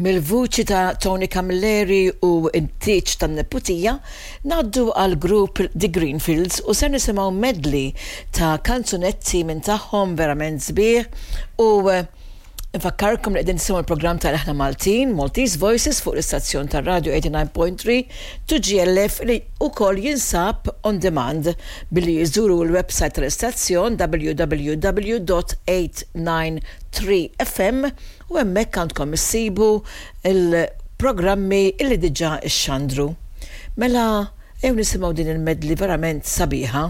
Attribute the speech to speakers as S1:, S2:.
S1: Mill-vuċi ta' Tony Camilleri u t-tieġ tan-neputija, ngħaddu għall-grupp The Greenfields u ser nisimgħu medley ta' kanzunetti minn tagħhom verament sbieħ u nfakkarkom li qegħdin tisimgħu l-programm ta' Leħna Maltin, Maltese Voices fuq l-istazzjon tar-radju 89.3 2GLF li wkoll jinsab on demand billi jżuru l-website tal-istazzjon www.893fm U hemmhekk għandkom issibu l-programmi illi diġà xxandru. Mela ejjew nisimgħu din il-medley verament sabiħa.